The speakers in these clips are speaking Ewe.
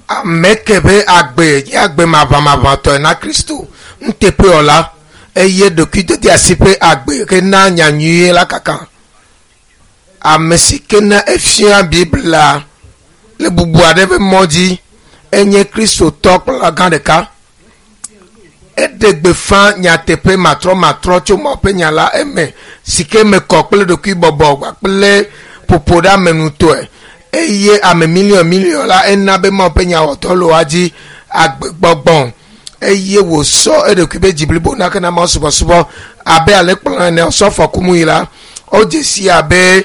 Ame ke be agbe nye agbe maʋamaʋãtɔe na Kristo nuteƒewɔla eye ɖokuidodeasi ƒe agbe hena nyanyuie la kaka. Ame si ke na efia Biblia le bubu aɖe ƒe mɔ dzi enye Kristotɔ kplɔla gã ɖeka. Eɖe gbeƒã nyateƒe matrɔmatrɔ tso Mawu ƒe nya la eme si ke me kɔ kple ɖokuibɔbɔ kple ƒoƒo ɖe ame nutɔe eye ame miliɔn miliɔn la ena be Mawu ƒe nya wɔ dɔ le woa dzi agbegbɔgbɔ eye wòsɔ eɖokui be dzi blibo na kena Mawu subɔsubɔ abe alẽkplɔla ene osɔfo Kumuyi la wodze si abe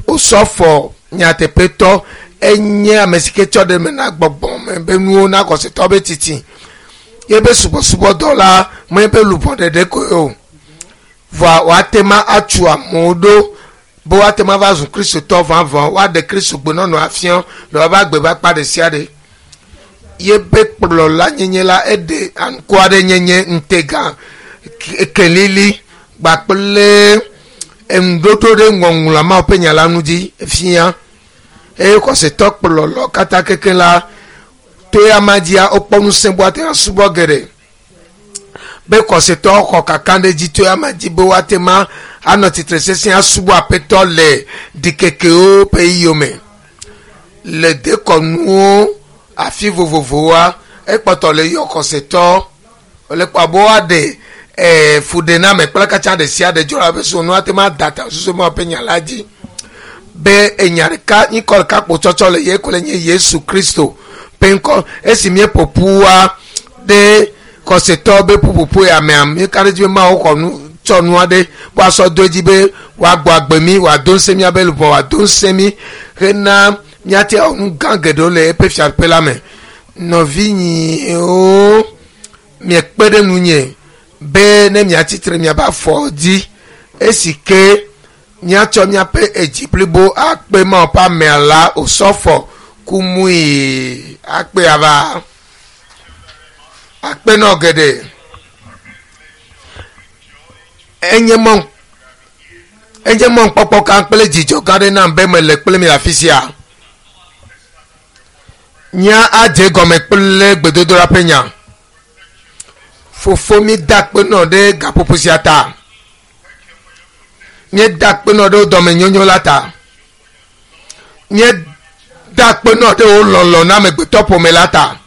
osɔfo nyateƒetɔ enye ame si ke tsɔ ɖe me na gbɔgbɔ me be nuwo na xɔsetɔ be tsitsi yebe subɔsubɔdɔ la menye be luʋɔ ɖeɖe koe o vɔa woate ma atsu amewo ɖo be woate ma va zu kristotɔ vavã woaɖe kristo gbenɔnɔ afia le woaƒe agbe ƒe akpa ɖe sia ɖe yebe kplɔla nyenye la eɖe aŋkɔ aɖe nyenye ŋutega kelili kpakple enuɖoɖo ɖe ŋɔŋlɔa Mawu ƒe nya la nu dzi fia eye xɔsetɔ kplɔlɔ katã keke la to ya ma dzia wokpɔ ŋusẽ be woate asubɔ geɖe be xɔsetɔ xɔ kaka ɖe dzi to ya ma dzi be woate ma anɔ tsitre sesẽ asubɔ aƒetɔ le ɖikekewo ƒe yiyome le dekɔnuwo afi vovovowoa ekpɔtɔ le yɔ xɔsetɔ le kpɔ abe woaɖe ɛɛ fuɖename kple katã ɖe sia ɖe dzɔ abe sonu ate ma da ta susu ma ƒe nya la dzi be enya ɖeka ŋkɔ ɖeka kpo tsɔtsɔ le ye ko le nye Yesu Kristo ƒe ŋkɔ esi míeƒo ƒua ɖe xɔsetɔ be ƒuƒoƒo ya mea míeka ɖe edzi be Mawu xɔ nu tsɔ nu aɖe woasɔ do edzi be woagbɔ agbe mí wòado ŋusẽ míabe luʋɔ wòado ŋusẽ mí hena míate awɔ nu gã geɖewo le eƒe fiaɖuƒe la me. Nɔvinyewo miekpe ɖe ŋunye be ne miatsitre miaƒe afɔ dzi esi ke míatsɔ míaƒe edzi blibo akpe Mawu ƒe amea la osɔfo Kumuyi akpe ava akpe nɔ geɖe. Enye mɔ enye mɔnukpɔkpɔ gã kple dzidzɔ gã aɖe nam be mele kple mi le afi sia. Nya adze gɔme kple gbedodoɖa ƒe nya. Fofo mi da akpe nɔ ɖe gaƒoƒo sia ta. Míeda akpe nɔ ɖe wo dɔmenyonyo la ta. Míeda akpe nɔ ɖe wo lɔlɔ na amegbetɔ ƒome la ta.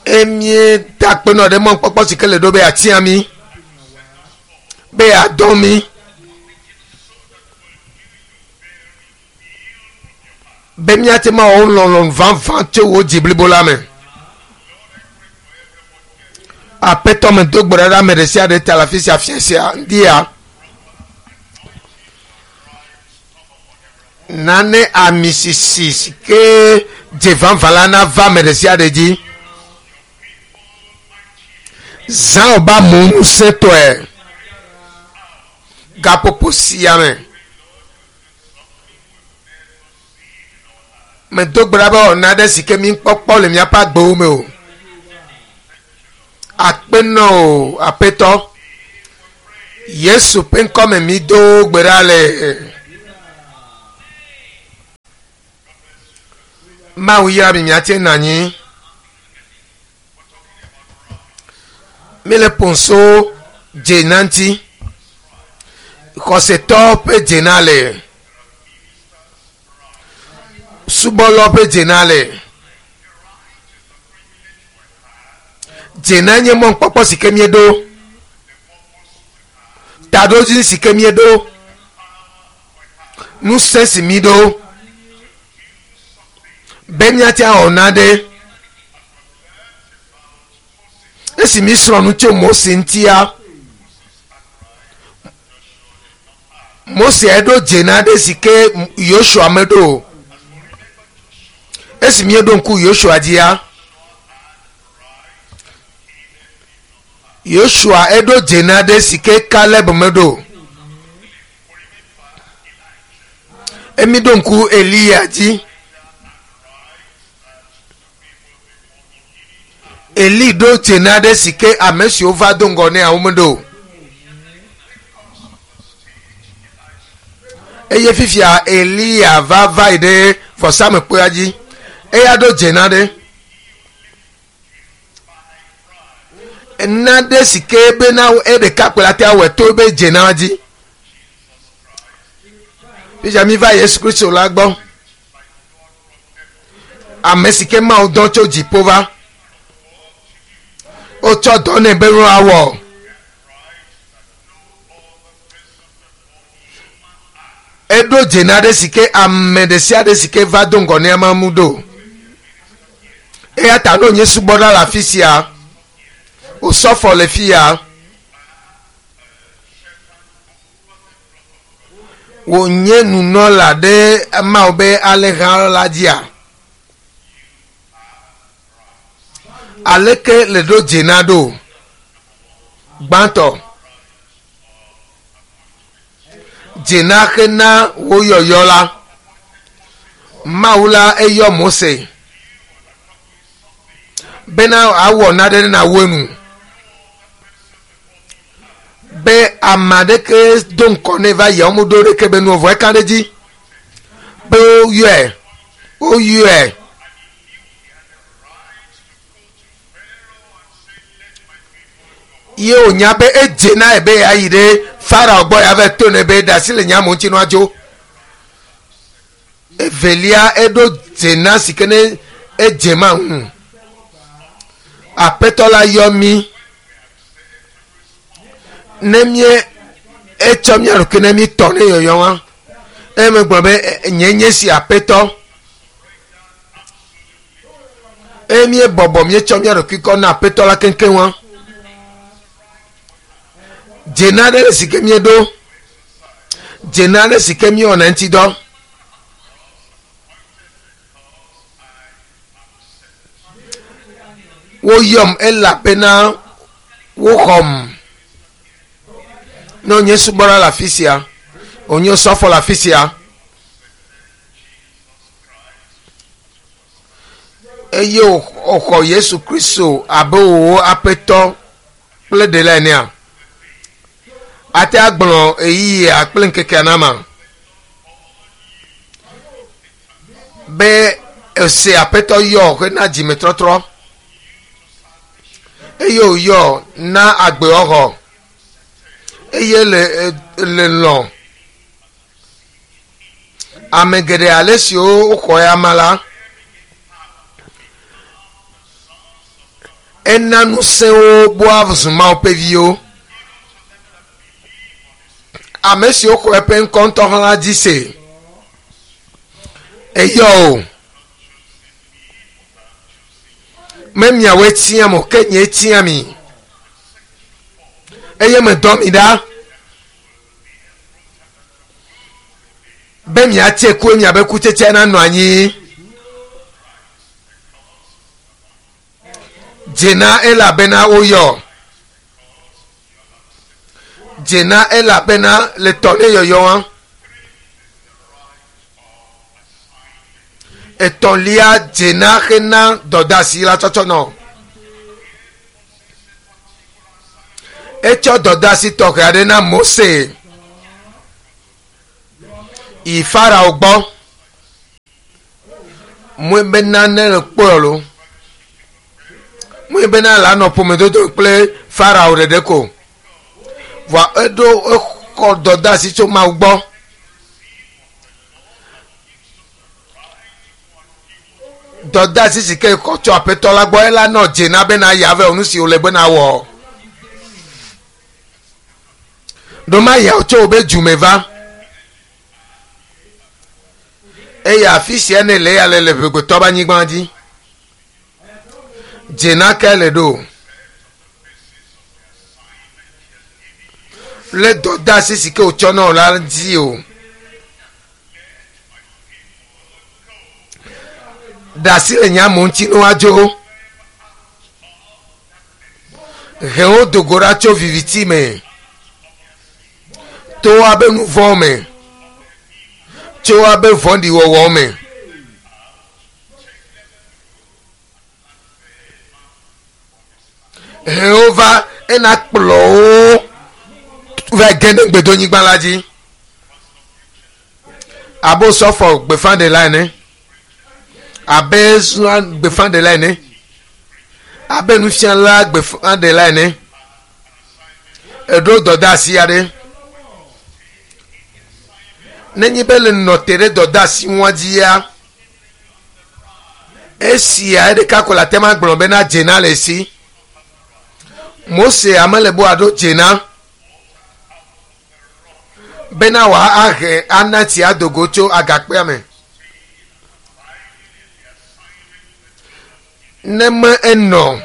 Eye míeda akpe nɔ ɖe mɔnukpɔkpɔ si ke le ɖo be yeatia mí, be yeadɔ mí, be míate ŋu awɔ lɔlɔ̃nu vavã tso wò dzi blibo la me. Aƒetɔ medo gbe ɖa ɖe ame ɖe sia ɖe ta le afi sia fiẽ sia ŋdia. Nane ami sisi si ke dze vavã la nava ame ɖe sia ɖe dzi. Zã wò be amewo ŋusẽtɔe. Gaƒoƒo sia me. Medo gbe ɖa be wɔna aɖe si ke míkpɔkpɔ le míaƒe agbewo me o. Akpe nɔ o, Aƒetɔ. Yesu ƒe ŋkɔme mi do gbe ɖa le. Mawu yra mi miate nɔ anyi. Míle ƒonso dzena ŋuti. Xɔsetɔ ƒe dzena le. Subɔlɔ ƒe dzena le. Dzena nye mɔnukpɔkpɔ si ke míeɖo. Taɖodzinu si ke míeɖo. Ŋusẽ si míɖo. Be míate awɔ nane. Esi mísrɔ̃ nu tso Mose ŋutia, Mose eɖo dzena ɖe si ke Yosua meɖo o. Esi míeɖo ŋku Yosua dzia, Yosua eɖo dzena ɖe si ke Kaleb meɖo o. Emi ɖo ŋku Eliya dzi. Eli ɖo dzena ɖe si ke ame siwo va do ŋgɔ nɛ womeɖo o. Eye fifia Eliya va va yi ɖe vɔsamekpea dzi. Eya ɖo dze na ɖe. Nane si ke bena eɖeka kpe la te awɔe to ebe dze na dzi. Fifia mi va Yesu Kristo la gbɔ. Ame si ke Mawu dɔ tso dziƒo va. Wotsɔ dɔ nɛ be woawɔ. Eɖo dze na ɖe si ke ame ɖe sia ɖe si ke va do ŋgɔ nɛ ama mu ɖo. Eya ta ne wònye subɔla le afi sia, osɔfɔ le fi ya, wònye nunɔla ɖe Mawu be alẽha la dzia, aleke le ɖo dze na ɖo? Gbãtɔ, dze na xena wo yɔyɔ la. Mawu la eyɔ Mose bena awɔ naɖe ne nawu enu be ame aɖeke do ŋkɔ ne va yia womeɖo ɖeke be nu vɔ eka ɖe dzi be woyɔe woyɔe ye wònya be edze na ye be yeayi ɖe Farao gbɔ ya va to ne be ɖe asi le nye amewo ŋuti nua dzo. Evelia eɖo dze na si ke ne edze ma ŋu. Aƒetɔ la yɔ mí ne mie etsɔ mía ɖokui ne mí tɔ ne yɔyɔ wa. Eye megblɔ be nye nye si aƒetɔ. Eye mie bɔbɔ míetsɔ mía ɖokui kɔ na aƒetɔ la keŋkeŋ wa. Dze na ɖe si ke míeɖo. Dze na ɖe si ke míewɔna ŋuti dɔ. Woyɔm elabena woxɔm. Ne wònye subɔla le afi sia, wònye osɔfo le afi sia, eye wòxɔ Yesu Kristo abe wò aƒetɔ kple ɖela enea, ate agblɔ ɣeyiɣia kple ŋkekea na ma be ese aƒetɔ yɔ hena dzimetrɔtrɔ eye wòyɔ na agbewɔxɔ eye le le lɔ̃ ame geɖe ale siwo woxɔ ya ma la ena ŋusẽwo boa zu Mawu ƒe viwo. Ame siwo xɔ eƒe ŋkɔ ŋutɔ hã la dzi se. Eyɔ o. Me miawoe tiam o, ke nyee tia mi. Eye medɔ mi ɖa be miatse ku miabe kutsetsea nanɔ anyi. Dzena elabena woyɔ. Dzena elabena le tɔ ne yɔyɔ wa. Etɔ̃lia dzena hena dɔdeasi la tsɔtsɔ nɔ. Etsɔ dɔdeasi tɔxɛ aɖe na Mose yi Farao gbɔ. Mɔe bena ne le kpɔe lo. Mɔe bena la nɔ ƒomedodo kple Farao ɖeɖe ko. Vɔa eɖo exɔ dɔdeasi tso Mawu gbɔ. Dɔdeasi si ke xɔ tso aƒetɔ la gbɔ ela nɔ dze na bena ya vɛ nu si wòle bena wɔ. Ɖo ya tso wobe dzume va. Eye afi sia ne le ya le le ʋegbetɔ be anyigba dzi. Dze na ke le ɖo. Le dɔdeasi si ke wòtsɔ na wò la dzi o. Ɖe asi le nye amewo ŋuti ne woadzo. He wo do go ɖa tso viviti me. To woabe nu vɔ̃ me. Tso woabe vɔ̃ɖiwɔwɔ me. He wo va ena kplɔ wo va ge ɖe gbedonyigba la dzi. Abe osɔfo gbeƒãɖela ene, abe srɔ̃ gbeƒãɖela ene, abe nufiala gbeƒãɖela ene. Eɖo dɔdeasi aɖe. Nenye be le nɔ te ɖe dɔdeasi ŋua dzia, esia ɖeka ko le ate ŋu agblɔ bena dzena le esi. Mose ame le be wòaɖo dzena bena wòahe ana tsi ado go tso agakpea me. Ne me enɔ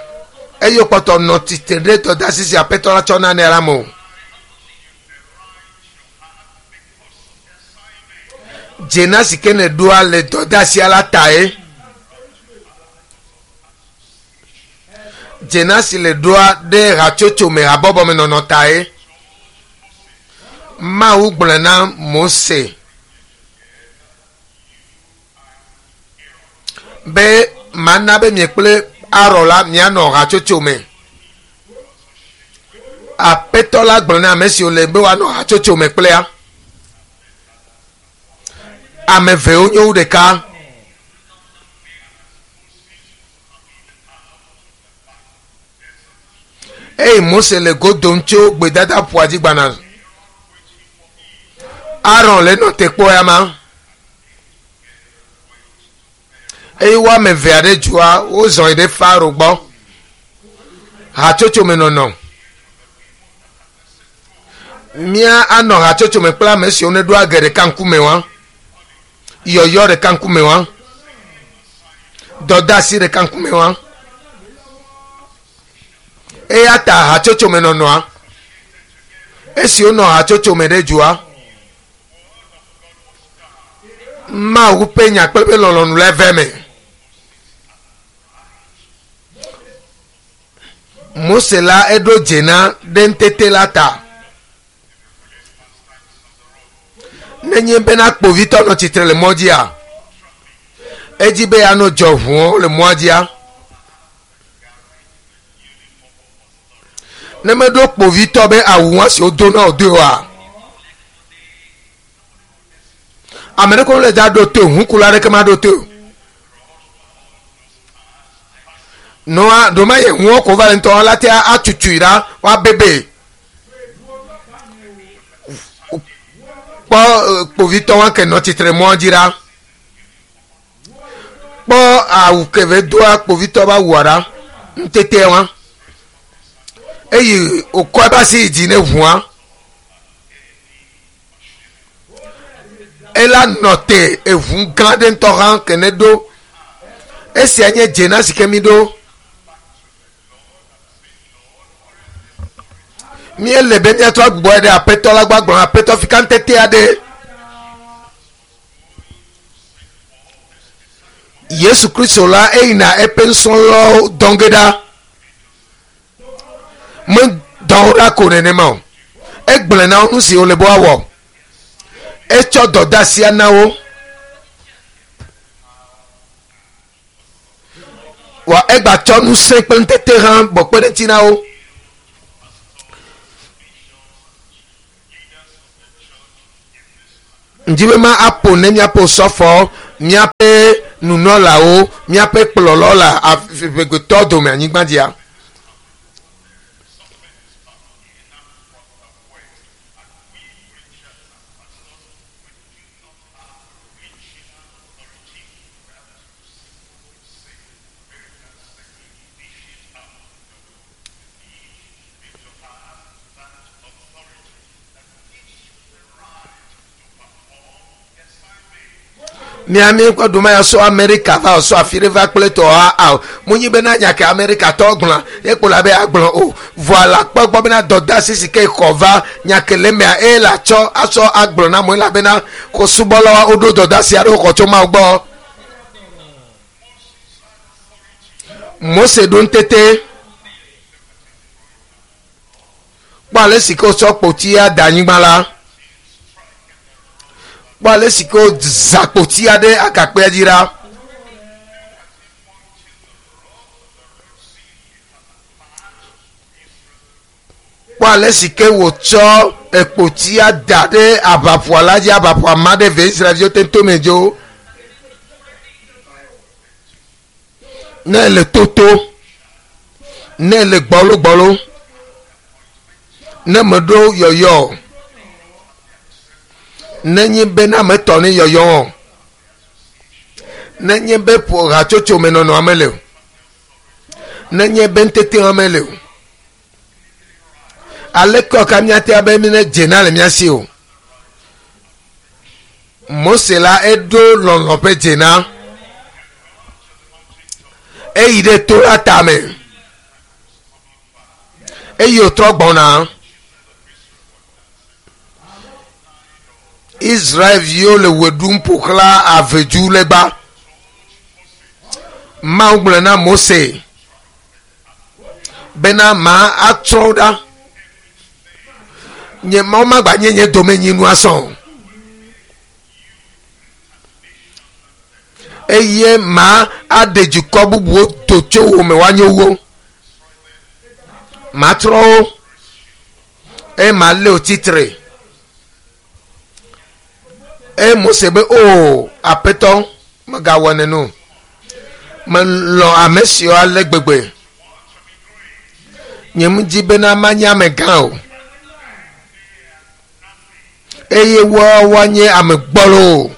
eye wòkpɔtɔ nɔ tsitre ɖe dɔdeasi si Aƒetɔ la tsɔ na nɛ la me o. Dzena si ke nèɖoa le dɔdeasia la tae. Dzena si le ɖoa ɖe hatsotso me habɔbɔ me nɔnɔ tae. Mawu gblɔe na Mose be mana be mie kple Aron la mianɔ hatsotso me. Aƒetɔ la gblɔ na ame siwo le be woanɔ hatsotso me kplea. Ame evewo nyo wu ɖeka. Eye Mose le go dom tso gbedadaƒua dzi gbana. Aron le nɔ te kpɔ ya ma. Eye wo ame eve aɖe dzoa wozɔ yi ɖe Faro gbɔ. Hatsotso me nɔnɔ. Mía anɔ hatsotso me kple ame siwo neɖo age ɖeka ŋkume wa. Yɔyɔ ɖeka ŋkume wa. Dɔdeasi ɖeka ŋkume wa. Eya ta hatsotso me nɔnɔa. Esi wonɔ hatsotso me ɖe dzoa, Mawu ƒe nya kple eƒe lɔlɔ̃nu le eve me. Mose la eɖo dze na ɖe ŋutete la ta. Nenye bena kpovitɔ nɔ tsitre le mɔ dzia, edzi be yeanɔ dzɔ ʋuɔ le mɔa dzia. Ne meɖo kpovitɔ be awu wa si wodo na wòdoe oa, ame ɖeke mele da ɖo to ʋukula aɖeke maɖo to o. Noa ɖoma ye ŋuɔ ko va le ŋutɔ la te atutui ɖa woabebe. Kpɔ kpovitɔ wa ke nɔ tsitre mɔ dzi ɖa. Kpɔ awu ke ve doa kpovitɔ ba wua ɖa ŋutete wa. Eye wòkɔ eƒe asi yi dzi ne ʋua. Ela nɔ te eʋu gã ɖe ŋutɔ hã ke ne ɖo. Esia nye dzena si ke mi ɖo. Míele be míatrɔ agbugbɔ ɖe Aƒetɔ la gbɔ agblɔ Aƒetɔ fi ka ŋutete aɖe. Yesu Kristo la eyina eƒe nusrɔ̃lawo dɔ ge ɖa. Medɔ wo ɖa ko nenema o. Egblɔe na wo nu si wole be woawɔ. Etsɔ dɔdeasia na wo. Wa egbatsɔ ŋusẽ kple ŋutete hã bɔ kpe ɖe eŋuti na wo. Ŋdi be ma aƒo ne míaƒe osɔfɔ, míaƒe nunɔlawo, míaƒe kplɔlɔ le amegbetɔ dome anyigba dzia. Miami ƒe ɖuma ya sɔ Amerika va sɔ afi ɖe va kple tɔ a munyi bena nya ke Amerika tɔ gblɔ ye kpo la be agblɔ o vɔa la kpɔ gbɔ bena dɔdeasi si ke xɔ va nya ke le mea eye la tsɔ asɔ agblɔ na mo elabena ko subɔlawo woɖo dɔdeasi aɖewo xɔ tso Mawu gbɔ. Mose ɖo ŋutete kpɔ ale si ke wotsɔ kpotia da anyigba la. Kpɔ ale si ke wozã kpotia ɖe agakpea dzi ɖa. Kpɔ ale si ke wòtsɔ ekpotia da ɖe aʋaƒua la dzi aʋaƒua ma ɖe ve Israelviwo te tome dzo. Ne ele toto, ne ele gbɔlogbɔlo, ne meɖo yɔyɔ o, nenye bena metɔ ne yɔyɔ o, nenye be ƒo hatsotso me nɔnɔa mele o, nenye be ŋutetea mele o, aleke ka míate abe mi ne dzena le mía si o. Mose la eɖo lɔlɔ ƒe dzena. Eyi ɖe to la tame. Eye wòtrɔ gbɔna. Israelviwo le wɔ ɖum ƒo xlã avedu legba. Mawu gblɔ na Mose bena ma atsrɔ̃ wo ɖa. Nye Mawu magbanye nye domenyinu asɔ o. Eye ma aɖe dukɔ bubuwo do tso wo me woanye wo. Matrɔ wo eye malé wo tsitre. Eye Mose be o Aƒetɔ megawɔ nene o. Melɔ̃ ame siwo ale gbegbe. Nye medi bena manye amegã o. Eye woawo woanye ame gbɔlo o.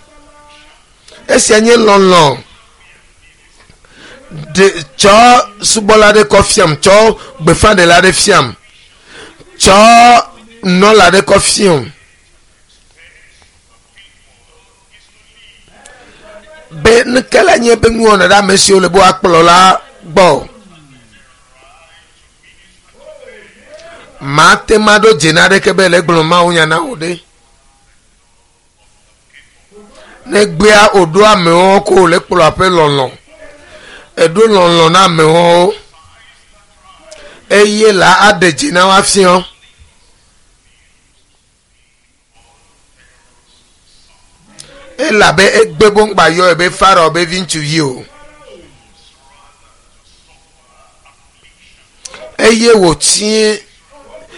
Esia nye lɔlɔ̃. Ɖe tsɔ subɔla aɖe kɔ fiam, tsɔ gbeƒãɖela aɖe fiam, tsɔ nunɔla aɖe kɔ fiam. Be nuke la nye be nuwɔna ɖe ame siwo le be woakplɔ la gbɔ. Mate ŋu aɖo dze na aɖeke be le gblɔ mawunya na wò ɖe. Ne gbea wòɖo amewo ko wòle kplɔ aƒe lɔlɔ. Eɖo lɔlɔ na amewo eye la aɖe dzi na wo afiɔ. Elabe egbe be ŋgba yɔ ebe Farao be vi ŋutsuvi o. Eye wòtie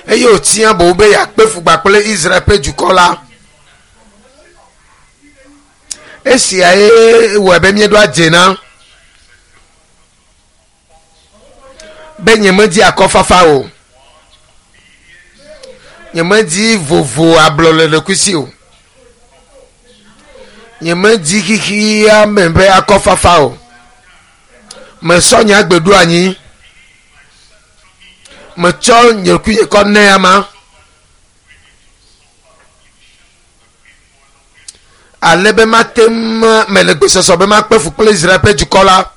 eye wòtia boŋ be yeakpe fugba kple Israel ƒe dukɔ la. Esia ye wɔe be míeɖo adze na be nyemedi akɔfafa o. Nyemedi vovo ablɔ le ɖokuisi o. Nyemedi xexea me ƒe akɔfafa o. Mesɔ nye agbe ɖo anyi. Metsɔ nye ɖokuinye kɔ nɛ ama. Ale be mate ŋu mele gbesɔsɔ be makpe fu kple Israel ƒe dukɔ la.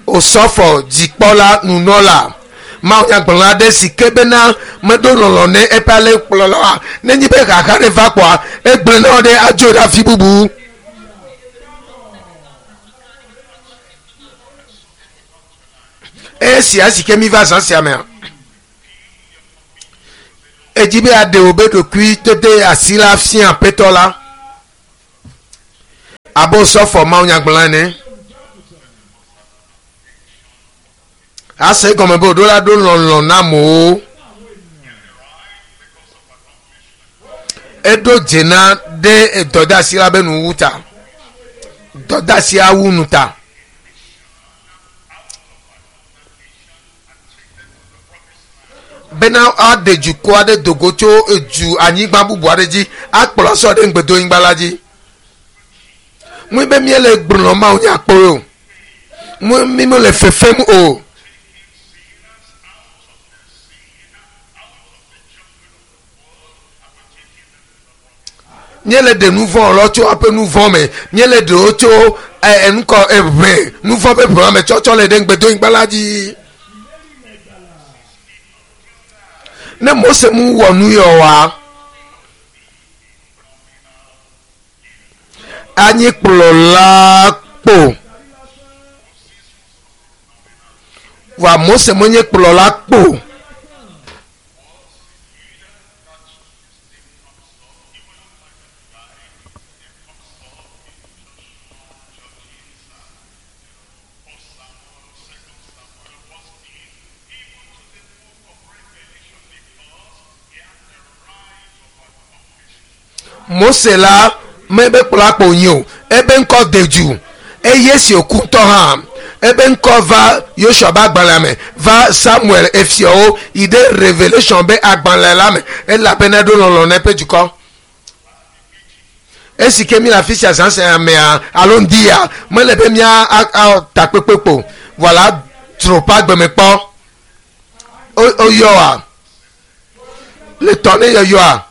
Osɔfo dzikpɔla nunɔla mawunyagblɔla aɖe si ke bena meɖo lɔlɔ ne eƒe alẽkplɔla oa, nenye be xaxa ɖe va kpɔa, egblẽ na wo ɖe adzo ɖe afi bubu. Esia si ke mi va zã sia mea, edzi be aɖe wò be ɖokui tete asi la fia aƒetɔ la. Abe osɔfo mawunyagblɔla ene. Ase egɔme be wòɖo la ɖo lɔlɔ na amewo. Eɖo dze na ɖe dɔdeasi la be nuwu ta. Dɔdeasia wu nu ta. Bena aɖe dukɔ aɖe do go tso edu anyigba bubu aɖe dzi akplɔ asɔ ɖe ŋugbedonyigba la dzi. Mui be míele gblɔ Mawu nya kpɔ o. Mui mi mele fefem o. Míele ɖe nu vɔ̃ lɔ tso aƒe nu vɔ̃ me. Míele ɖewo tso enukɔ eʋe nu vɔ̃ ƒe ʋe me tsɔtsɔ le ɖe ŋugbedonyigba la dzi. Ne Mose mu wɔ nu yɔ wa, anyi kplɔla kpo. Vɔa Mose menye kplɔla kpo. Mose la mebe kplɔ akpo nyi o, ebe ŋkɔ de dzu eye si wòku ŋutɔ hã ebe ŋkɔ va Yosua be agbalẽa me, va Samuel efiawo yi ɖe Revelation be agbalẽ la me, elabena eɖo lɔlɔ̃ na eƒe dukɔ. Esi ke mi le afi sia zãzã mea alo ŋdi ya, mele be mía takpekpe kpo, vɔ la dzro ƒe agbeme kpɔ. Woyɔa le tɔ ne yɔyɔa.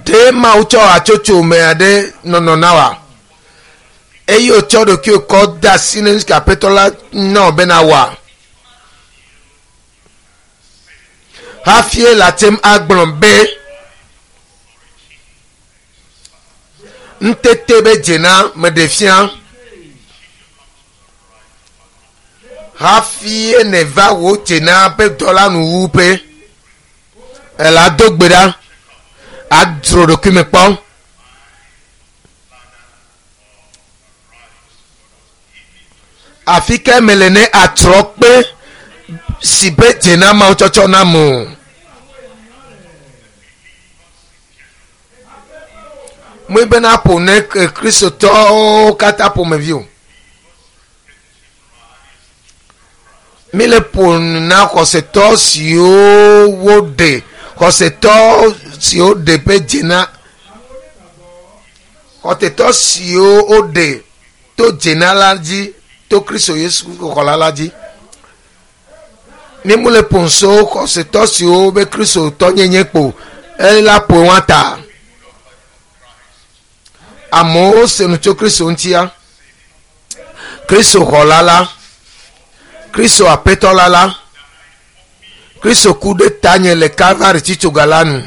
Ɖe Mawu tsɔ hatsotso me aɖe nɔnɔ na wa? Eye wòtsɔ ɖokuiwò kɔ de asi ne nusi Aƒetɔ la na wò bena wɔa? Hafi ele ate ŋu agblɔ be, Ŋutete be dze na meɖe fia. Hafi nèva wò dze na ƒe dɔ la nuwuƒe. Ele ado gbe ɖa, adzro ɖokui me kpɔ. Afi ke mele ne atrɔ kpe si be dze na Mawu tsɔtsɔ nam o. Mui bena ƒo ne Kristotɔwo katã ƒomevi o. Míle ƒo na xɔsetɔ siwo woɖe, xɔsetɔ siwo ɖe ƒe dze na, xɔsetɔ siwo woɖe to dze na la dzi, to Kristo Yesu xɔla la dzi. Mímule ƒo so xɔsetɔ siwo be Kristotɔ nyenye kpo, ela ƒo wa ta. Amewo se nu tso Kristo ŋutia. Kristo xɔla la, Kristo aƒetɔ la la, Kristo ku ɖe tanye le Kalvari tsitsoga la nu.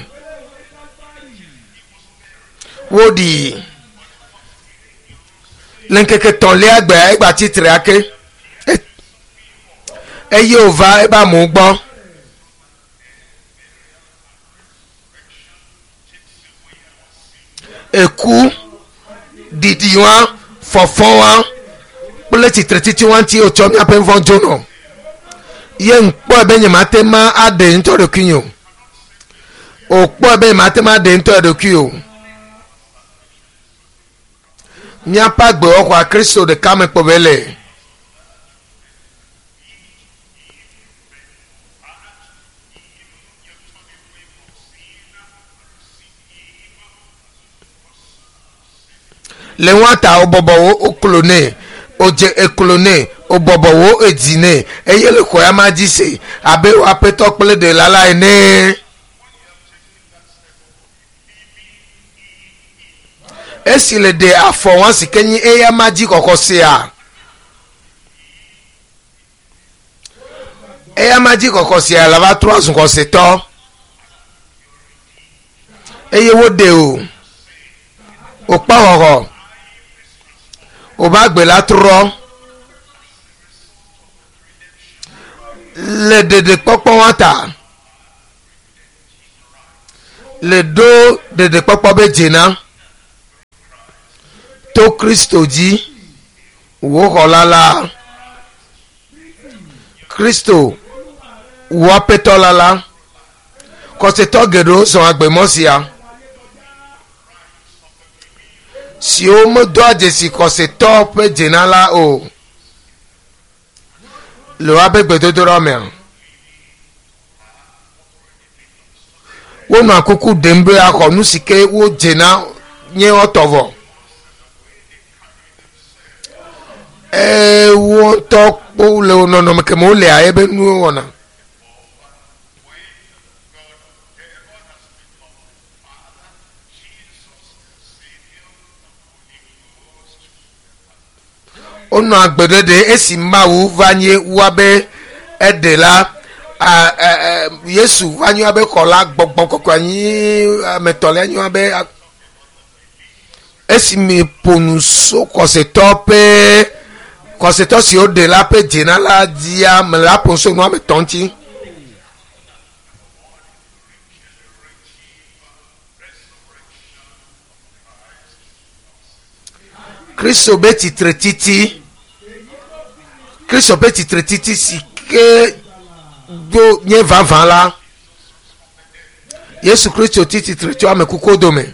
Woɖii le ŋkeke tɔ̃lia gbea egba tsitre ake. Eye wòva ebe amewo gbɔ. Eku, ɖiɖi wa, fɔfɔ wa kple tsitretsitsi wa ŋuti wotsɔ míaƒe nuvɔ̃ dzo nɔ. Ye ŋkpɔe be nyemate ma aɖe ŋutɔ ɖokuinye o. Wòkpɔe be nyemate ma aɖe ŋutɔ ɖokui o. Míaƒe agbewɔxɔa Kristo ɖeka me kpɔ be le. Le ŋua ta wobɔbɔ wo woklo nɛ, wodze eklo nɛ, wobɔbɔ wo edzi nɛ, eye le xɔ ya ma dzi se abe wo aƒetɔ kple ɖela la ene. Esi le ɖe afɔ wa si ke nyi eya ma dzi xɔxɔ sea. Eya ma dzi xɔxɔ sia la va trɔ azu xɔsetɔ. Eye woɖe o. Wòkpɔ xɔxɔ. Wòva gbe la trɔ. Le ɖeɖekpɔkpɔ wa ta. Le ɖo ɖeɖekpɔkpɔ be dzena. To Kristo dzi, wò xɔla la. Kristo, wò aƒetɔ la la. Xɔsetɔ geɖewo zɔ agbemɔ sia siwo medoa dzesi xɔsetɔ ƒe dzena la o le woaƒe gbedodoɖa mea. Wonɔa kuku ɖem be axɔ nu si ke wodzena nye woatɔ vɔ. Wo ŋutɔ kpo le nɔnɔme ke me wolea ebe nuwo wɔna. Wonɔ agbe ɖeɖe esi Mawu va nye woabe eɖela, Yesu va nye woabe xɔla, gbɔgbɔ kɔkɔe anyi ame etɔ̃lia nye woabe esime ƒo nu so xɔsetɔ ƒe xɔsetɔ si woɖe la ƒe dzena la dzia me la ƒo nu so nu ame etɔ̃ ŋuti. Kristo be tsitretiti, Kristo ƒe tsitretiti si ke do nye vavã la, Yesu Kristo tsi tsitre tso ame kukuwo dome.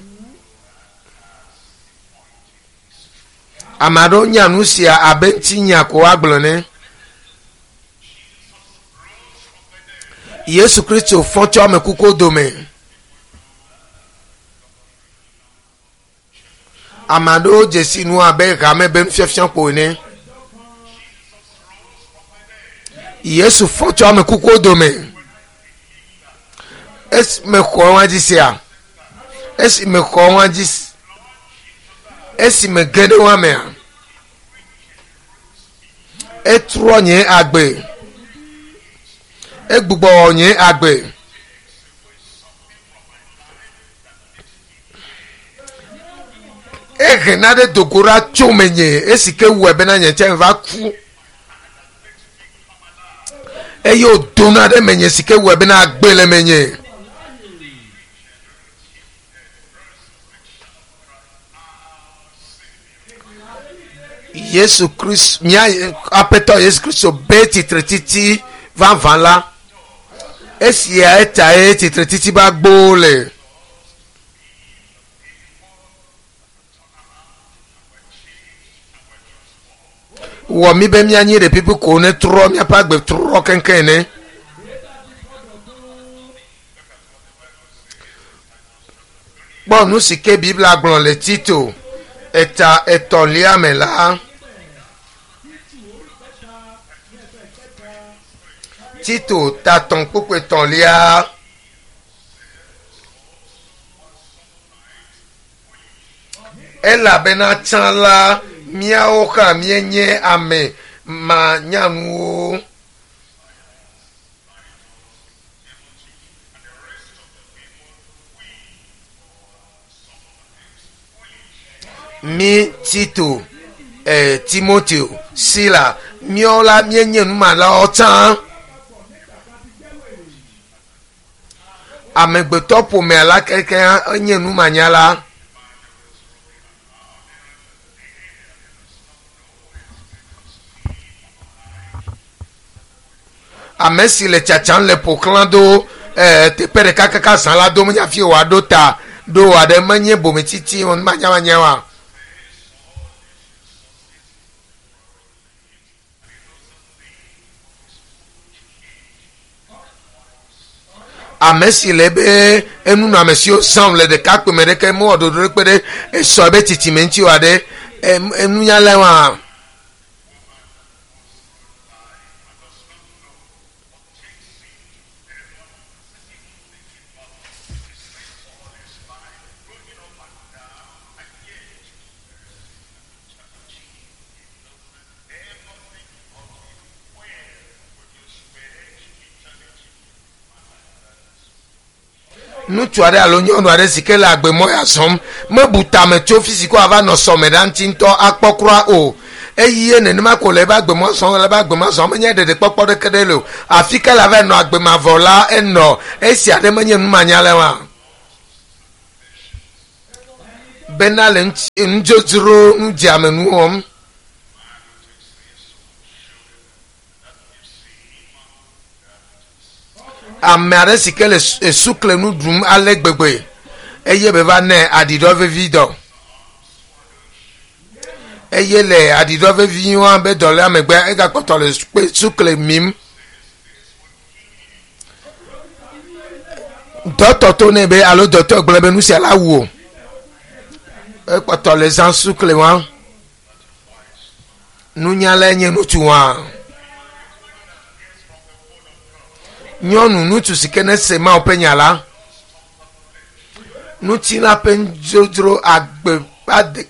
Ame aɖewo nya nu sia abe ŋutinya ko woagblɔ ene. Yesu Kristo fɔ tso ame kukuwo dome. Ame aɖewo dze si nu abe hame be nufiafia ko ene. Yesu fɔ tso ame kukuwo dome. Esi mexɔ wa dzi sia, esi mexɔ wa dzi, esi mege ɖe wa mea, etrɔ nye agbe, egbugbɔ nye agbe. Ehe naɖe do go ɖa tso menye esi ke wɔe bena nye tsɛ va ku eye wòdona ɖe menye si ke wɔe bena agbe le menye. Yesu Kristo, mía Aƒetɔ Yesu Kristo be tsitretiti vavã la, esia etae tsitretiti be agbowo le. Wɔ mí be míanyi ɖe pipi ko ne trɔ míaƒe agbe trɔ keŋkeŋ ene. Kpɔ nu si ke Biblia gblɔ le Tito eta etɔ̃lia me la. Tito ta tɔ̃ kpukpui etɔ̃lia. Elabena tsã la, míawo hã míenye ame manyanuwo. Mí Tito, eh, Timoteo, Sila, míawo la míenye numalawo tsã. Amegbetɔ ƒomea la kekeŋ enye numanyala. Ame si le tsatsam le ƒoxlã do eh, teƒe ɖeka kaka zã la do menye afi wòaɖo ta ɖo aɖe menye bometsitsi numanyamanya wa. Ame si le ebe enunɔamesiwo zãm le ɖekakpui me ɖeke mewɔ ɖoɖo ɖe kpe ɖe esɔ ebe tsitsime ŋuti oa ɖe, enunyalae wa. Ŋutsu aɖe alo nyɔnu aɖe si ke le agbemɔ ya zɔm mebu tame tso fi si ke wòava nɔ sɔme ɖa ŋuti ŋutɔ akpɔ kura o. Eye nenema ko le eƒe agbemɔ zɔm le eƒe agbemɔ zɔm menye ɖeɖekpɔkpɔ ɖeke ɖe le o. Afi ka le ava nɔ agbe mavɔ la enɔ esi aɖe menye numanyala oa? Bena le nudzodzro nudzeamenu wɔm. Ame aɖe si ke le sukle nu ɖum ale gbegbe eye be va nɛ aɖiɖɔ vevi dɔ. Eye le aɖiɖɔ vevi wa be dɔléa megbe egakpɔtɔ le sukle mim. Dɔtɔ to nɛ be alo dɔtɔ gblɔ be nu sia la wu o. Ekpɔtɔ le zã sukle wa. Nunyalae nye ŋutsu wa. Nyɔnu ŋutsu si ke ne se Mawu ƒe nya la, ŋutilã ƒe nudzodzro agbe ade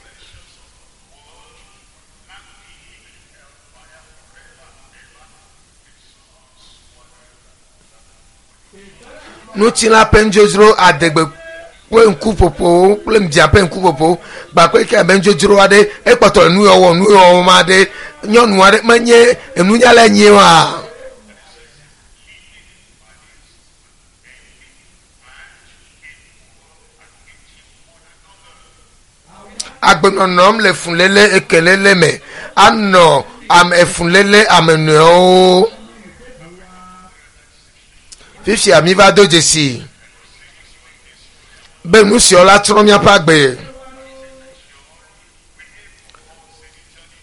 ŋutilã ƒe nudzodzro adegbe kple ŋkuƒoƒowo kple ŋdia ƒe ŋkuƒoƒowo kpakple ke abe nudzodzro aɖe ekpɔtɔ le nuyɔwɔ nuyɔwɔ ma aɖe nyɔnu aɖe menye enunyala enye wa. Agbenɔnɔm le fuléle ekelele me anɔ ame efuléle ame nɔewo. Fifia mi va do dzesi. Be nu siawo la trɔ míaƒe agbe.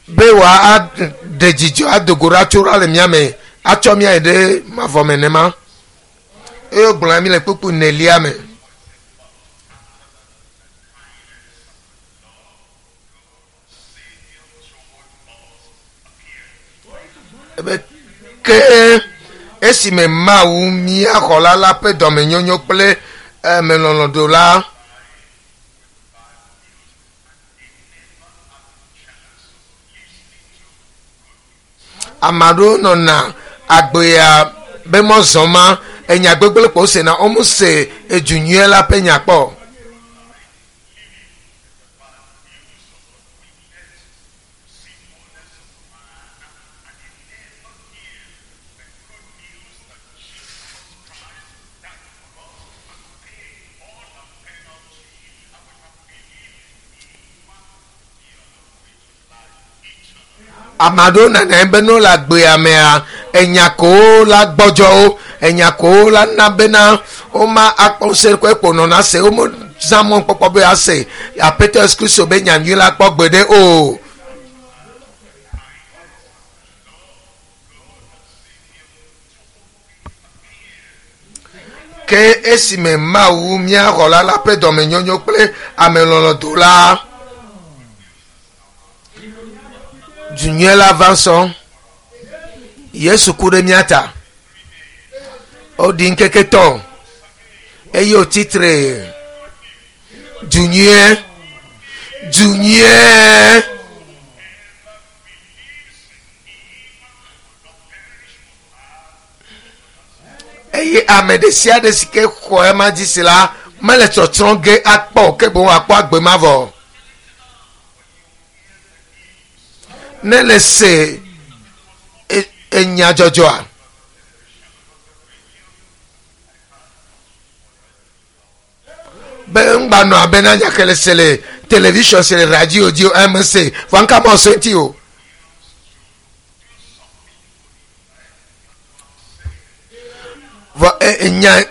Be wòaɖe dzidzɔ ado go ɖa tso ɖa le mía me atsɔ mía yi ɖe mavɔ me nema. Eye wogblɔ na mí le kpukpui nelia me. Ebe ke esime Mawu mía xɔla la ƒe dɔmenyonyo kple amelɔlɔ̃ ɖo la, ame aɖewo nɔna agbea be mɔzɔ ma enya gbegblẽ kpɔ wosena womese edu nyuie la ƒe nya kpɔ o. Ame aɖewo nana be ne wole agbea mea, enya kowo la gbɔdzɔ wo, enya kowo la na bena woma akpɔ ŋusẽ kɔ ekpo nɔna se, womezã mɔkpɔkpɔ be ase Aƒetɔ Yesu Kristo be nyanyui la kpɔ gbeɖe o. Ke esime Mawu mía xɔla la ƒe dɔmenyonyo kple amelɔlɔ̃ do la, du nyui la va sɔ. Yesu ku ɖe mía ta. Woɖi ŋkeke tɔ eye wòtsi tre. Du nyuie, du nyuie. Eye ame ɖe sia ɖe si ke xɔ ema dzi se la mele tsɔtsrɔ̃ ge akpɔ o, ke boŋ akpɔ agbe mavɔ. Ne le se enya dzɔdzɔa, be ŋgba nɔ abe na nya ke le se le television se le radio dzi o eme se vɔ ŋka mɔ se ŋuti o. Vɔ enya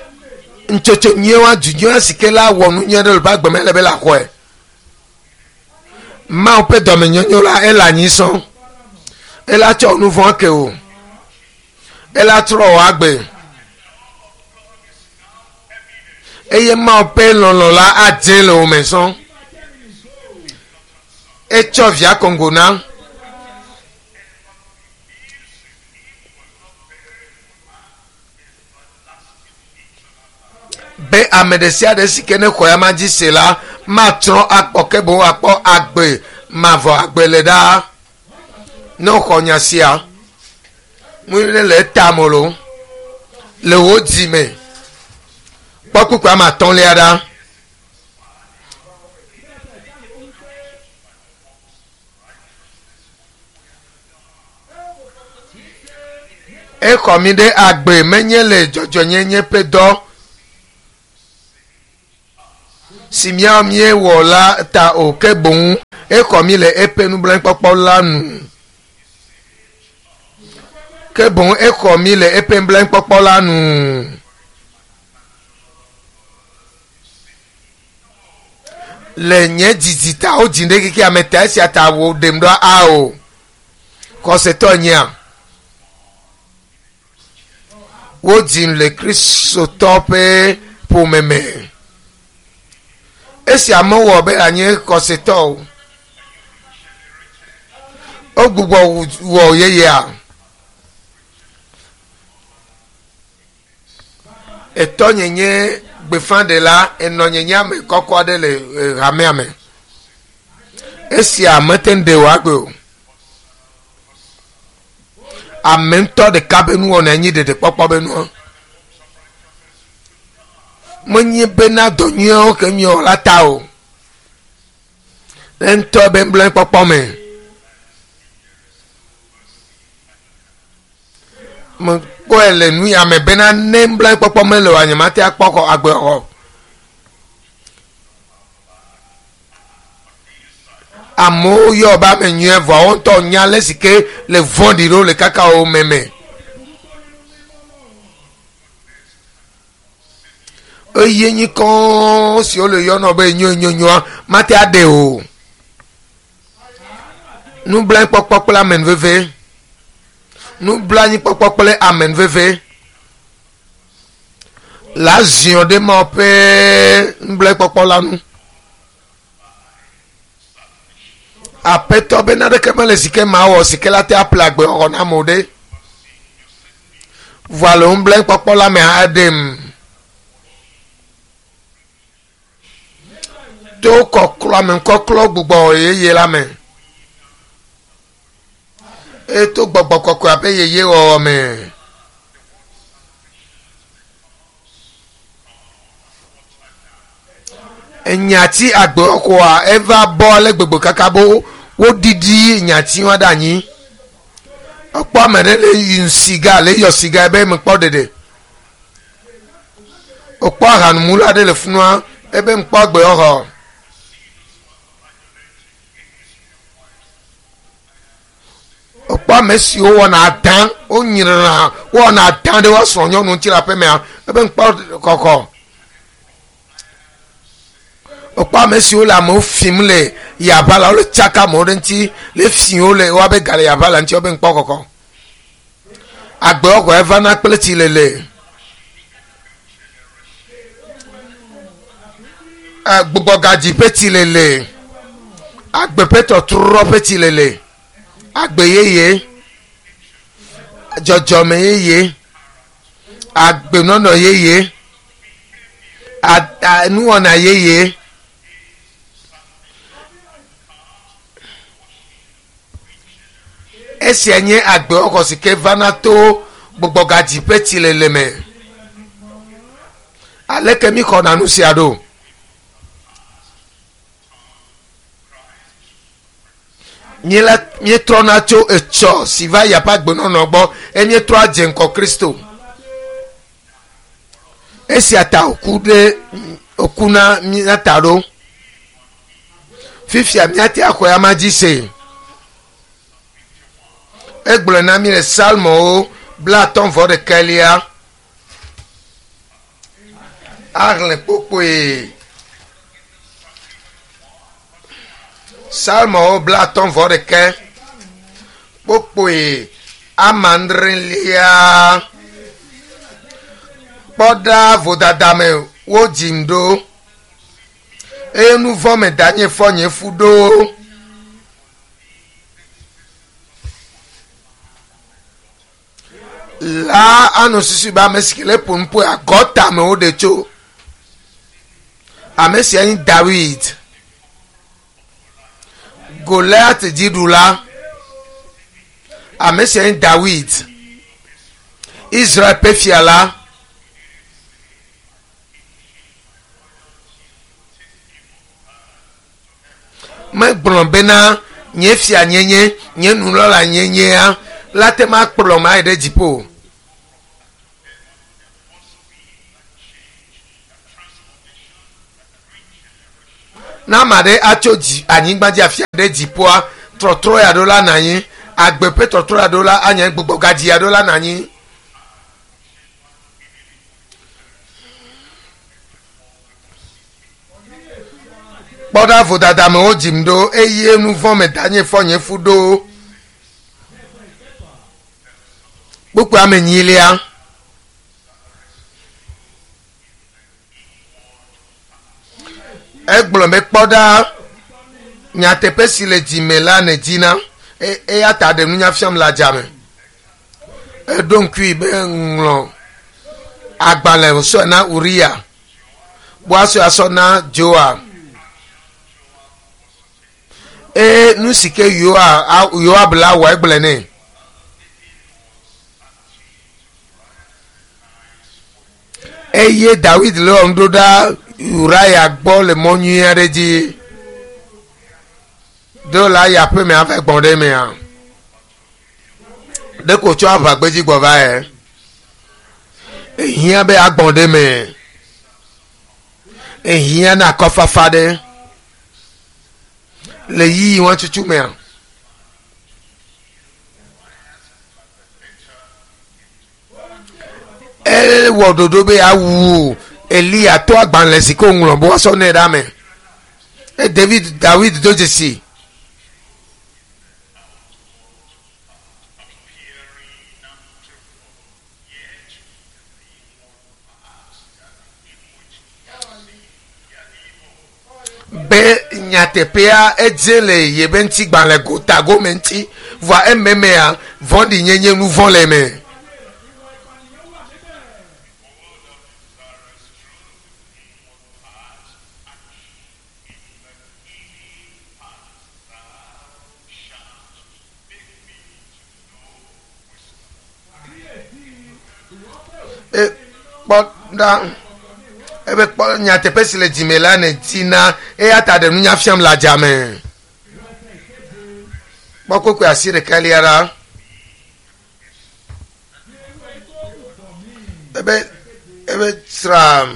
ntsotso nyuie wa du nyuie si ke la wɔ nu nyuie ɖe le ƒe agbe me le be la xɔe. Mawu ƒe dɔmenyonyo la ele anyi sɔŋ. Ela tsɔ nu vɔ̃ ke o. Ela trɔ wò agbe. Eye Mawu ƒe lɔlɔ̃ la adze le wò me sɔŋ. Etsɔ via kɔngo na. Be ame ɖe sia ɖe si ke ne xɔ ya ma dzi se la matsrɔ̃ akpɔ ke boŋ akpɔ agbe mavɔ agbe le ɖaa. Ne woxɔ nya sia, nu ɖe le etame lo le wò dzi me. Kpɔ kpukpui ame atɔ̃lia ɖa. Exɔ mi ɖe agbe menye le dzɔdzɔnyenye ƒe dɔ si míawo míewɔ la ta o, ke boŋ exɔ mi le eƒe nublanuikpɔkpɔ la nu. Ke boŋ exɔ mi le eƒe nublanuikpɔkpɔ la nu. Le nye didi ta wodzi ɖe xexea me ta esia ta wò ɖem ɖo ao. Xɔsetɔ nyea. Wodzim le Kristotɔ ƒe ƒome me. Esia mewɔ be anye xɔsetɔ o. Wogbugbɔ wɔ yeyea. Etɔnye nye gbeƒãɖela, enɔnye nye ame kɔkɔ aɖe le hamea me. Esia mete ŋu ɖe wò agbe o. Ame ŋutɔ ɖeka be nuwɔna nyi ɖeɖekpɔkpɔ be nua. Menye bena dɔ nyuiwo ke miewɔ la ta o. Le ŋutɔ be nublanuikpɔkpɔ me. Mekpɔe le nu ya me bena ne nublanuikpɔkpɔ mele oa, nyemate akpɔ xɔ agbe xɔ. Amewo yɔ be ame nyuie vɔa wo ŋutɔ nya ale si ke le vɔ̃ɖi ɖo le kaka wo meme. Eye nyi kɔɔ si wole yɔnɔ be nyonyonyoa mate aɖe o. Nublanuikpɔkpɔ kple amenuveve. Nublanuikpɔkpɔ kple amenuveve. La ziɔ ɖe Mawu ƒe nublanuikpɔkpɔ la nu. Aƒetɔ be naneke mele si ke mawɔ si ke la te aƒle agbe xɔxɔ na amewo ɖe. Vɔa le nublanuikpɔkpɔ la me hã eɖem. To kɔklɔ ame kɔklɔ gbugbɔ yeye la me. Eye to gbɔgbɔ kɔkɔea ƒe yeye wɔwɔ me. Enyati agbexɔa eva bɔ ale gbegbe kaka be woɖiɖi nyati wa ɖe anyi. Ekpɔ ame ɖe le yi siga le yɔ siga ebe mekpɔ ɖeɖe. Wokpɔ ahanumula ɖe le funua ebe mekpɔ agbexɔ. Wokpɔ ame siwo wɔna adã wonyrena wowɔna adã ɖe woa srɔ̃ nyɔnu ŋuti le aƒemea ebe mekpɔ kɔkɔ. Wokpɔ ame siwo le amewo fim le yaʋa la wole tsaka amewo ɖe ŋuti le fi wo le woabe ga le yaʋa la ŋuti wobe ŋkpɔ kɔkɔ. Agbewɔxɔ evana kple tsilele. Gbugbɔgadzi ƒe tsilele. Agbe ƒe tɔtrɔ ƒe tsilele. Agbe yeye. Dzɔdzɔme yeye. Agbenɔnɔ yeye. Nuwɔna yeye. Esia nye agbewɔxɔ si ke vana to gbugbɔgadzi ƒe tsilele me. Aleke mi xɔna nu sia ɖo? Míela míetrɔna tso etsɔ si va yi aƒe agbenɔnɔ gbɔ eye míetrɔ dze ŋgɔ Kristo. Esia ta wòku ɖe wòku na mía ta ɖo. Fifia míate axɔe ama dzi se. Egblɔe na mí le Psalmowo 51. Ahlẽ kpokpoe. Psalmowo 51 kpokpoe 6. Kpɔ ɖa vodada me wodzim ɖo eye nu vɔ̃ me danye fɔ nye fu ɖo. La anɔ susu be ame si ke le ƒo nu ƒo agɔta me woɖe tso. Ame sia nye Dawid. Goliat dziɖula. Ame sia nye Dawid. Israel ƒe fia la. Megblɔ bena nye fia nyenye, nye nunɔla nyenyea la te ma kplɔ ma yi ɖe dziƒo. Na ame aɖe atso dzi anyigba dzi afia ɖe dziƒoa, trɔtrɔ ya ɖo la na anyi, agbe ƒe trɔtrɔ ya ɖo la anye gbugbɔgadzi ya ɖo la na anyi. Kpɔ ɖa vodada me wodzim ɖo eye nu vɔ̃ me danye fɔ nye fu ɖo. Kpukpui ame enyilia. Egblɔ be kpɔ ɖa nyateƒe si le dzime la nèdina eya ta ɖe nunya fiam le adzame. Eɖo ŋkui be ŋlɔ agbalẽ wòsɔe na Uriya. Boasɔ asɔ na Joab. Eye nu si ke Yoab la wɔ egblɔe nɛ. Eye Dawid le wɔm ɖo ɖa Uriah gbɔ le mɔ nyui aɖe dzi. Do la yi aƒeme ava gbɔ̃ ɖe emea. Ɖeko tsɔ aʋagbedzi gbɔ va yɛ. Ehiã be agbɔ̃ ɖe eme. Ehiã na akɔfafa ɖe le yiyi wɔn tutu mea. Ewɔ ɖoɖo be awu Eliya to agbalẽ si ke wòŋlɔ be woasɔ nɛ ɖa me. E David Dawid do dzesi. Be nyateƒea edze le yebe ŋutigbalẽ gotagome ŋuti vɔa ememea vɔ̃ɖinyenye nu vɔ̃ le eme. E kpɔ ɖa ebe kpɔ nyateƒe si le dzime la ne dina eya ta ɖe nunya fiam le adzame. Kpɔ kpekpe asi ɖeka lia ɖa. Ebe ebe sra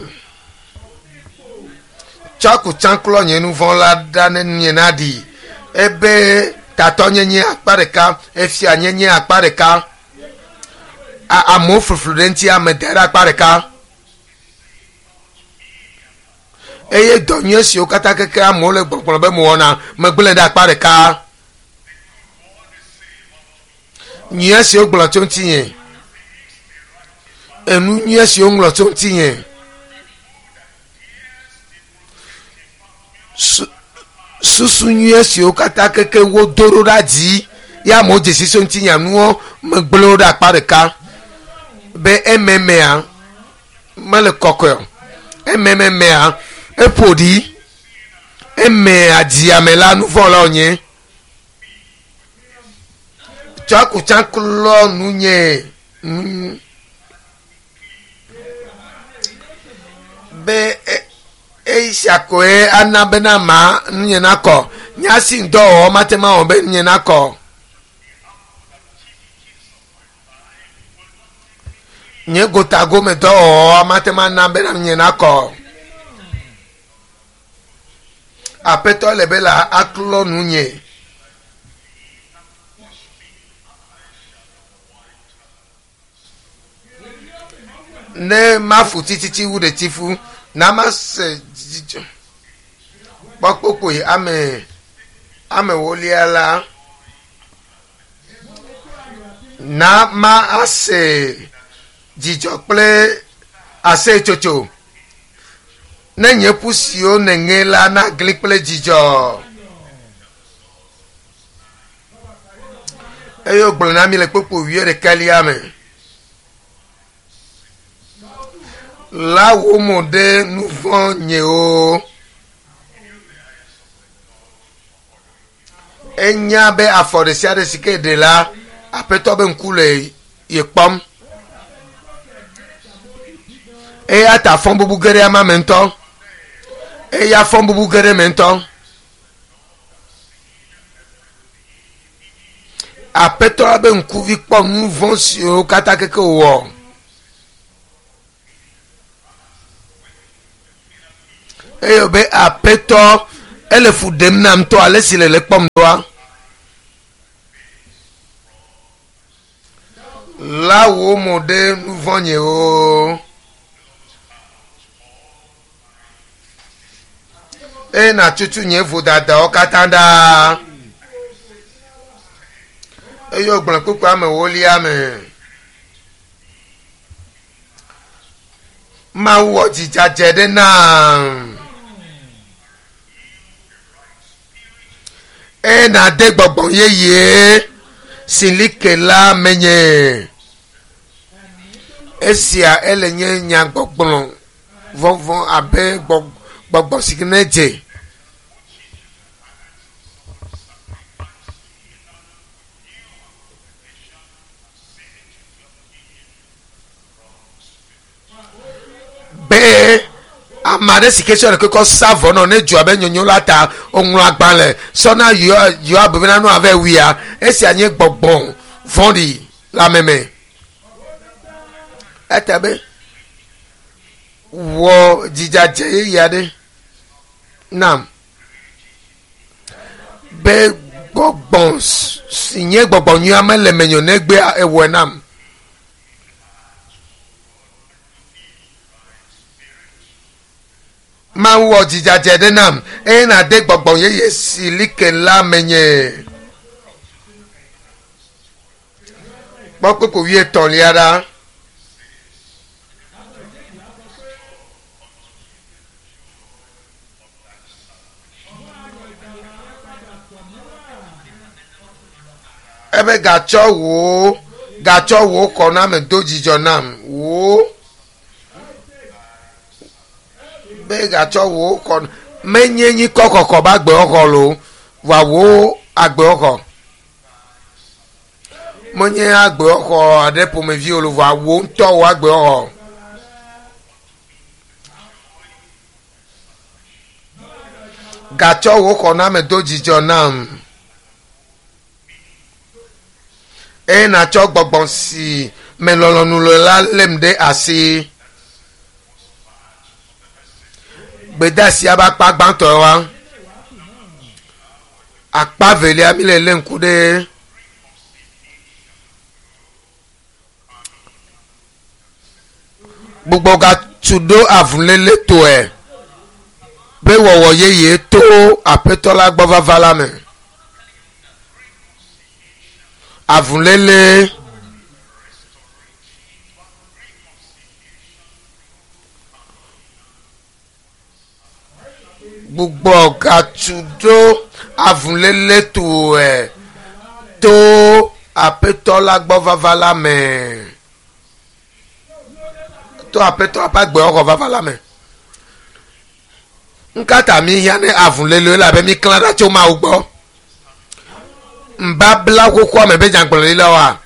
tsɔ kutsã klɔ nye nu vɔ̃ la ɖa ne nye naɖi. Ebe tatɔnyenye akpa ɖeka, efia nyenye akpa ɖeka. Amewo fluflu ɖe ŋuti ame da ɖe akpa ɖeka. Eye dɔ nyui siwo katã keke amewo le gbɔgblɔ be mewɔna megblẽ ɖe akpa ɖeka. Nyui siwo gblɔ tso ŋutinye. Enu nyui siwo ŋlɔ tso ŋutinye. Su susu nyui siwo katã keke wodo ɖo ɖa dzi ya amewo dzesi tso ŋutinye nuwo megblẽ wo ɖe akpa ɖeka. Be ememea mele kɔkɔe o. Emememea eƒo ɖi. Emea dziame la nu vɔ̃ la wònye. Tsɔ kutsã klɔ nunye nu be esia koe ana bena ma nunye nakɔ. Nya si ŋdɔ wɔwɔ mate ŋu awɔ be nunye nakɔ. Nye gotagome dɔwɔwɔ mate ŋu ana bena nunye nakɔ. Aƒetɔ le be la aklɔ nunye. Ne mafu tititi wu ɖetifu, na mase dzidzɔ. Kpɔ kpokpoe ame ame wolia la. Na ma ase dzidzɔ kple aseyetsotso. Ne nye ƒu siwo nèŋe la nagli kple dzidzɔ. Eye wògblɔ na mi le kpokpo wuiɖekɛlia me. La wò mo ɖe nu vɔ̃ nyewo. Enya be afɔ ɖe sia ɖe si ke ɖe la, Aƒetɔ be ŋku le ye kpɔm. Eya ta fɔ bubu ge ɖe ama me ŋutɔ. Eya fɔ bubu ge ɖe me ŋutɔ. Aƒetɔ be ŋkuvi kpɔ nu vɔ̃ siwo katã keke wòwɔ. Eye wòbe Aƒetɔ, ele fu ɖem nam ŋutɔ ale si le le kpɔm ɖoa. La wò mo ɖe nu vɔ̃ nyewo. Eye nàtutu nye vodadawo katã ɖa. Eye wògblɔ kpukpui ame ewolia me. Mawu wɔ dzidzadze ɖe nam. Eye nàde gbɔgbɔ yeye si li ke la menye. Esia ele nye nyagbɔgblɔ vɔvɔ̃ abe gbɔgbɔ si ke ne dze. Be ame aɖe si ke tsɔ ɖeke kɔ sa vɔ nɔ ne dzoa be nyonyo la ta woŋlɔ agbalẽ sɔ na Yoab bena nu ave wuia esia nye gbɔgbɔ vɔ̃ɖi le ame me. Eta be wɔ dzidzadze yeye aɖe nam be gbɔgbɔ si nye gbɔgbɔ nyuia mele menye o negbea ewɔe nam. Mawu wɔ dzidzadze ɖe nam eye nàde gbɔgbɔ yeye si li ke la menye. Kpɔ kpukpui wuietɔ̃lia ɖa. Ebe gatsɔ wò gatsɔ wò xɔname do dzidzɔ nam wò be gatsɔ wò xɔ menye nyikɔ kɔkɔ be agbexɔxɔ lo vɔa wò agbexɔxɔ menye agbexɔxɔ aɖe ƒomevi o lo vɔa wò ŋutɔ wò agbexɔxɔ. Gatsɔ wò xɔname do dzidzɔ nam eye nàtsɔ gbɔgbɔ si me lɔlɔ̃nu le la lém ɖe asi. Gbedeasia be akpa gbãtɔ wa. Akpa velia mi le lé ŋku ɖe gbugbɔgatu ɖo avuléle tɔe be wɔwɔ yeye to aƒetɔ la gbɔ vava la me. Avuléle gbugbɔgatu ɖo avuléle tɔe to aƒetɔ la gbɔ vava la me. To aƒetɔ ƒe agbexɔxɔ vava la me. Ŋkata mi hiã ne avuléle elabe mi klã ɖa tso Mawu gbɔ. Nubabla xoxoa me be nyagblɔɖilawoa,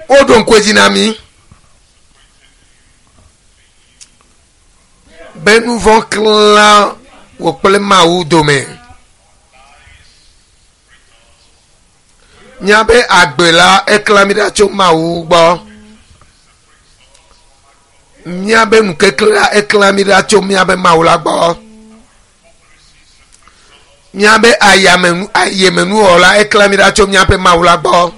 woɖo ŋku edzi na mí be nu vɔ̃ klã wò kple Mawu dome. Míabe agbe la eklã mí ɖa tso Mawu gbɔ. Míabe nukekle la eklã mí ɖa tso míabe Mawu la gbɔ. Míabe ayamenu ayemenuwɔwɔ la eklã mí ɖa tso míaƒe Mawu la gbɔ.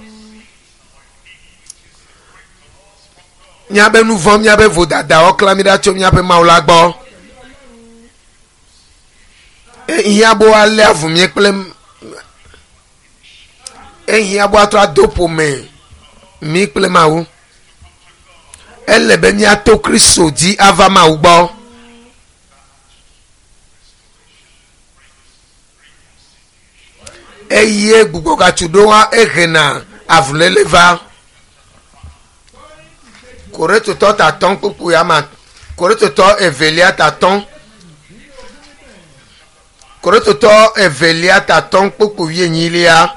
Míabe nu vɔ̃, míabe vodadawo klã mí ɖa tso míaƒe Mawu la gbɔ. Ehiã be woalé avu mí kple ehiã be woatrɔ ado ƒome mí kple Mawu. Ele be míato Kristo dzi ava Mawu gbɔ. Eye gbugbɔgatsu ɖo hã ehena avuléle va. Korintotɔ tatɔ̃ kpukpui ama Korintotɔ evelia tatɔ̃ Korintotɔ evelia tatɔ̃ kpukpui wuienyilia.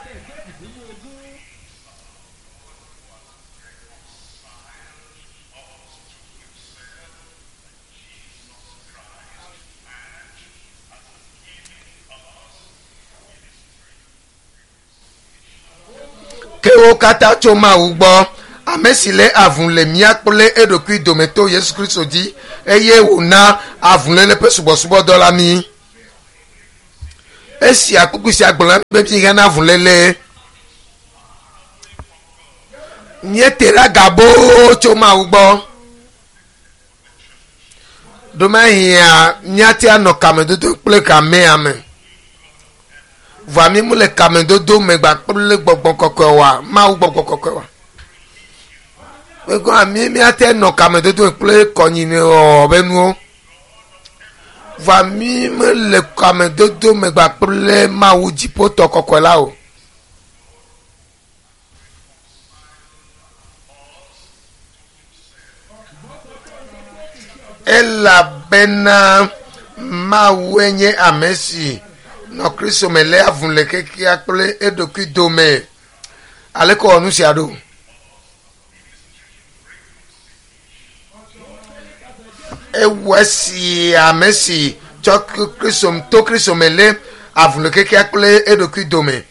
Ke wo katã tso Mawu gbɔ, ame si lé avu le mía kple eɖokui dome to Yesu Kristo dzi, eye wòna avuléle ƒe subɔsubɔdɔ la mí. Esia kpukpui sia gblɔ na mí be míhiã na avuléle. Míete ɖe aga boo tso Mawu gbɔ. Ɖomahia míate anɔ kamedodo kple hamea me. Vɔa mí mele kamedodo me gba kple gbɔgbɔ kɔkɔe oa, Mawu gbɔgbɔ kɔkɔe oa. Egɔa mí míate nɔ kamedodo me kple kɔnyinɔwɔwɔ be nuwo. Vɔa mí mele kamedodo me gba kple Mawu dziƒotɔ kɔkɔe la o. Elabena Mawue nye ame si nɔ Kristo me léa avu le xexea kple eɖokui dome. Aleke wòwɔ nu sia ɖo? Ewɔ esi ame si tsɔ Kristo to Kristo me lé avu le xexea kple eɖokui dome.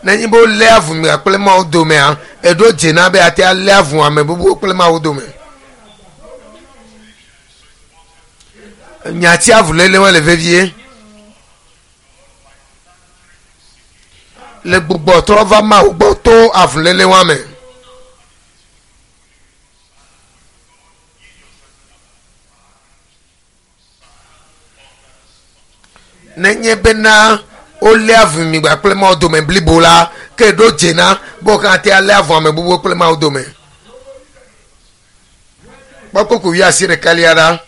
Nenye be wolé avu mia kple Mawu domea, eɖo dze na be ate alé avu ame bubuwo kple Mawu dome. Nyati avuléle wa le vevie. Le gbugbɔ trɔ va Mawu gbɔ to avuléle wa me. Nenye bena wolé avu mi gba kple Mawu dome blibo la, ke ɖo dze na be wo katã te alé avu ame bubuwo kple Mawu dome. Kpɔ kpukpui wuiasiɖekalia ɖa.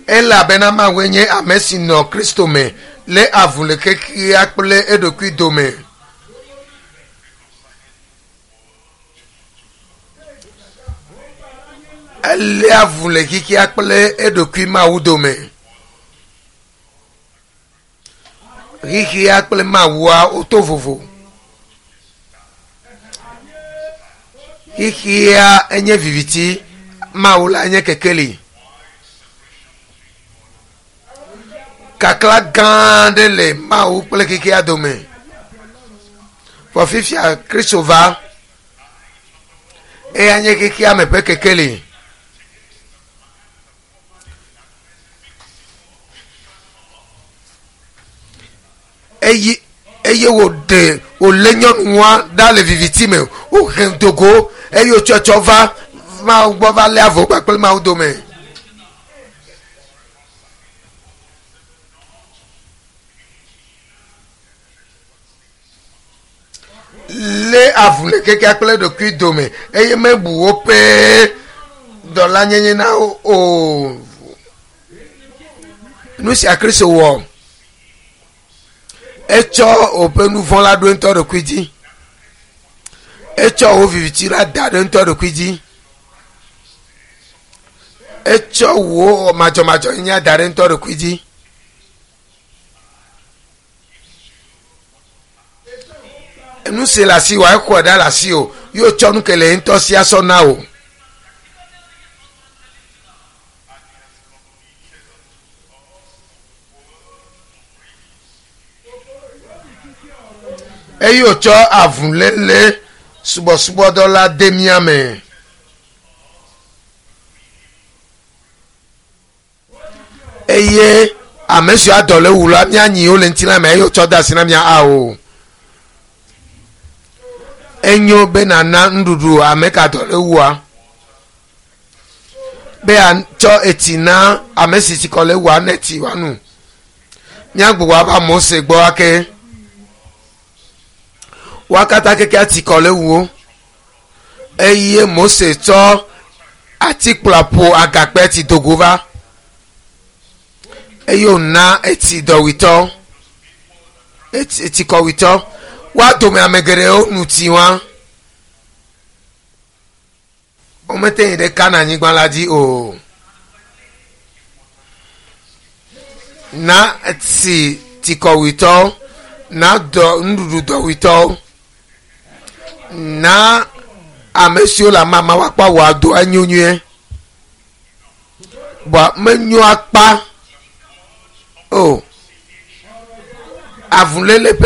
Elabena Mawue nye ame si nɔ Kristo me lé avu le xexea kple eɖokui dome. Elé avu le xexea kple eɖokui Mawu dome. Xexea kple Mawua woto vovo. Xexea enye viviti, Mawu la nye kekeli. Kakla gã aɖe le Mawu kple xexea dome. Vɔ fifia Kristo va, eya nye xexea me ƒe kekeli. Eye eye wòɖe wòlé nyɔnua ɖa le viviti me wòhe dogo eye wòtsɔtsɔ va Mawu gbɔ va lé avɔ kpakple Mawu dome. Lé avu le kekea kple ɖokui dome eye mebu woƒe dɔlanyenye na wo o. Nu sia Kristo wɔ. Etsɔ woƒe nu vɔ̃ la ɖo ŋutɔ ɖokui dzi. Etsɔ wo viviti la da ɖe ŋutɔ ɖokui dzi. Etsɔ wò madzɔmadzɔnyenye da ɖe ŋutɔ ɖokui dzi. Nu si le asiwò exɔe ɖa le asiwò ye wotsɔ nu ke le ye ŋutɔ si asɔ na wò. Eye wòtsɔ avuléle subɔsubɔdɔ la de mía me. Eye ame siwo adɔ le wu la, míanyi wo le ŋutilã me eye wotsɔ de asi na mía ao. Enyo be nàna nuɖuɖu ame ka dɔ le wua. Be atsɔ etsi na ame si tsikɔ le wua ne tsi wòanu. Míagbugbɔ ava Mose gbɔ ake. Woa katã keke tsikɔ le wu wo. Eye Mose tsɔ atikplɔ ƒo agakpe tsi dogo va. Eye wòna etsi dɔwuitɔ, etsi tsikɔwuitɔ. Woa dome ame geɖewo nu tsi wa. Womete yi ɖe Kana nyigba la dzi o. Na tsi tsikɔwuitɔwo, na dɔ nuɖuɖu dɔwuitɔwo, na ame siwo le amama woakpɔ awɔ ado enyo nyuie. Bɔa menyo akpa o. Avuléle ƒe.